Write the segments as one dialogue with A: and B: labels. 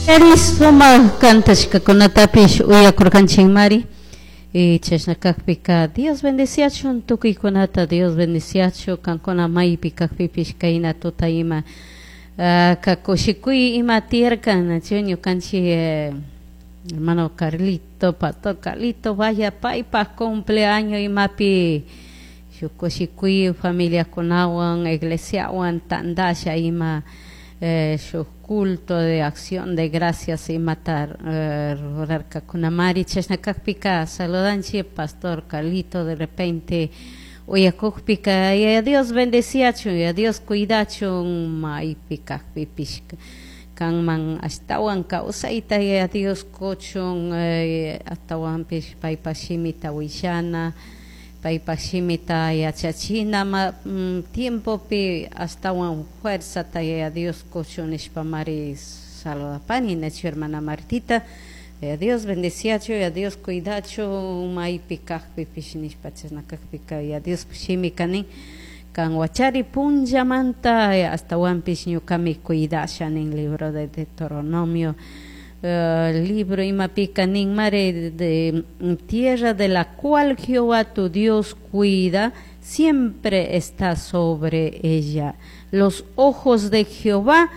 A: Sumak kantashkakunatapish uyakurkanchikmari. Chashna kakpika Dios bendeciachun tukuykunata, Dios bendeciachun kankuna maypi kakpipish kayna tuta ima kakushikuy ima tiyarkan, nachu ñukanchik hermano Carlito, pastor Carlito, vaya paypaj cumpleaños imapi shuk kushikuy familiakunawan iglesiawan tandasha ima shuk culto de acción de gracias imata rurarkakunamari. Chashna kakpika saludanchik pastor Carlito, de repente uyakukpika Yaya Dios bendeciachun, Yaya Dios cuidachun maypi kakpipish kanman ashtawan kawsayta Yaya Dios kuchun, ashtawanpish paypak shimita willana, paypak shimita yachachina tiempopi ashtawan fuerzata Yaya Dios kuchun nishpamari saludapani, nachu hermana Martita. Yaya Dios bendeciachun, Yaya Dios cuidachun maypi kakpipish nishpa. Chashna kakpika Yaya Dios shimika nin kan wachari punllamanta ashtawanpish ñukami cuidasha nin, libro de Deuteronomio libro imapika nin mari de tierra de la cual Jehová tu Dios cuida, siempre está sobre ella los ojos de Jehová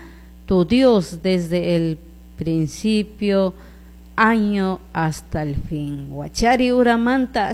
A: tu Dios desde el principio año hasta el fin. Wachari uramanta.